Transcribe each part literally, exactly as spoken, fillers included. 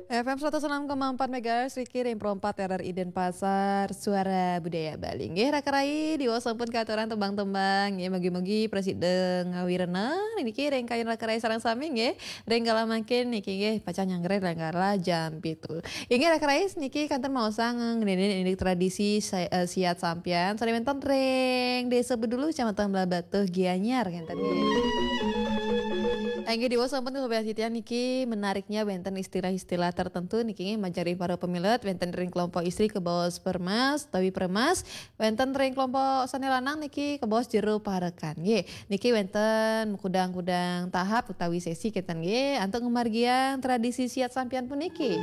F M seratus enam koma empat megahertz, Riki ring Pro empat R R I Denpasar, Suara Budaya Bali. Nggih, raka rai, diwaos sampun katuran tembang-tembang. Nggih, mugi-mugi prasida ngawirena niki ring kayun raka rai sareng sami nggih. Ring kala mangkin niki nggih pacang nyanggra ring kala jam pitu. Inggih, raka rai, niki kantun maosang ngenénin indik tradisi sa-, eh, siat sampian sané wénten ring Désa Bedulu, Kecamatan Blahbatuh, Gianyar, ngénten nggih. Inggih, diwaos sampun, Sobat Titian, niki menariknya wénten istilah-istilah tertentu niki nggih majeng ring para pamilet, wénten ring kelompok istri kabaos permas utawi permas, wénten ring kelompok sané lanang niki kabaos jero parekan. Nggih, niki wénten kudang-kudang tahap utawi sesi kénten nggih antuk ngamargiang tradisi siat sampian puniki.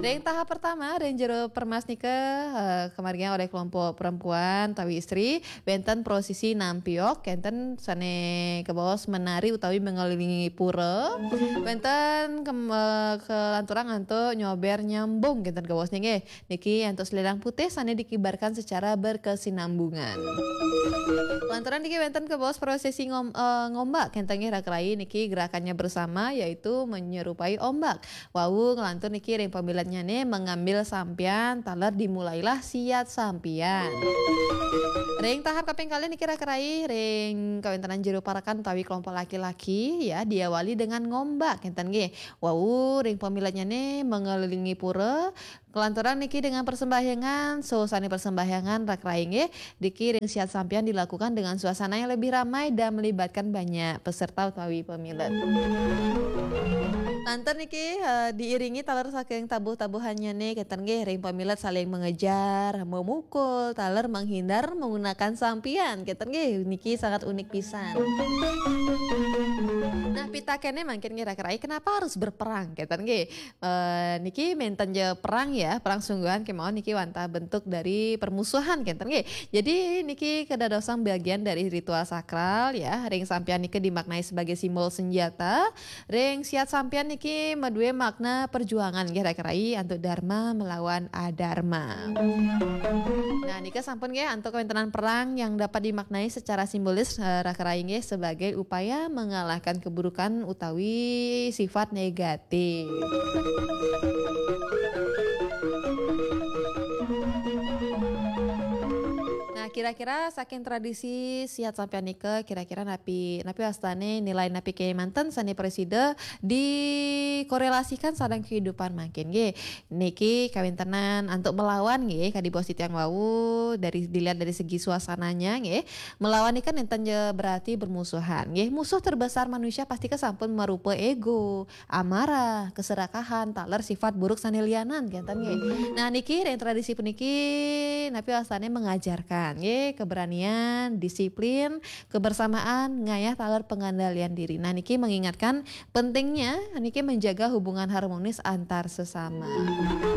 Ring tahap pertama, ring jero permas nika, eh, kamargiang olih kelompok perempuan utawi istri, wénten prosesi nampiok, kénten sané kabaos menari utawi mengelilingi pura. Wénten kem-, eh, kelanturang antuk nyober nyambung, kénten kabaosnya nggih. Niki antuk selendang putih sané dikibarkan secara berkesinambungan. Kelanturang niki wénten kabaos prosesi ngom-, eh, ngombak, kénten nggih raka rai, niki gerakannya bersama yaitu menyerupai ombak. Wau nglantur niki ring pamiletnyané mengambil sampian taler dimulailah siat sampian. Ring tahap kaping kalih niki raka rai ring kawéntenan jero parekan utawi kelompok laki-laki ya diawali dengan ngombak, kénten nggih. Wau ring pamiletnyané mengelilingi pura, kelanturang niki dengan persembahyangan, sané persembahyangan raka rai nggih. Niki ring siat sampian dilakukan dengan suasana yang lebih ramai dan melibatkan banyak peserta utawi pamilet. Lantur niki, eh, diiringi taler saking tabuh-tabuhannyané, kénten nggih, ring pamilet saling mengejar, memukul, taler menghindar menggunakan sampian, kénten nggih, niki sangat unik pisan. Nah, pitakénné mangkin nggih raka rai, kenapa harus berperang, kénten nggih? Eh, niki ménten ja perang ya, perang sungguhan kémaon niki wantah bentuk dari permusuhan, kénten nggih. Jadi niki kadadosang bagian dari ritual sakral ya. Ring sampian nika dimaknai sebagai simbol senjata. Ring siat sampian niki madué makna perjuangan nggih raka rai antuk dharma melawan adharma. Nah, nika sampun nggih antuk kawéntenan perang yang dapat dimaknai secara simbolis, eh, raka rai nggih sebagai upaya mengalahkan keburukan utawi sifat negatif. Nah, kira-kira saking tradisi siat sampian nika, kira-kira napi, napi wastané, nilai napi kémanten sané prasida dikorelasikan sareng kehidupan mangkin nggih. Niki kawéntenan antuk melawan nggih, kadi bos titiang wau, dari, dilihat dari segi suasananya nggih. Melawan nika nénten ja berarti bermusuhan nggih. Musuh terbesar manusia pasti ka sampun marupa ego, amarah, keserakahan, taler sifat buruk sané lianan, kénten nggih. Nah, niki ring tradisi puniki napi wastané mengajarkan nggih, keberanian, disiplin, kebersamaan, ngayah taler pengendalian diri. Nah, niki mengingatkan pentingnya niki menjaga hubungan harmonis antar sesama.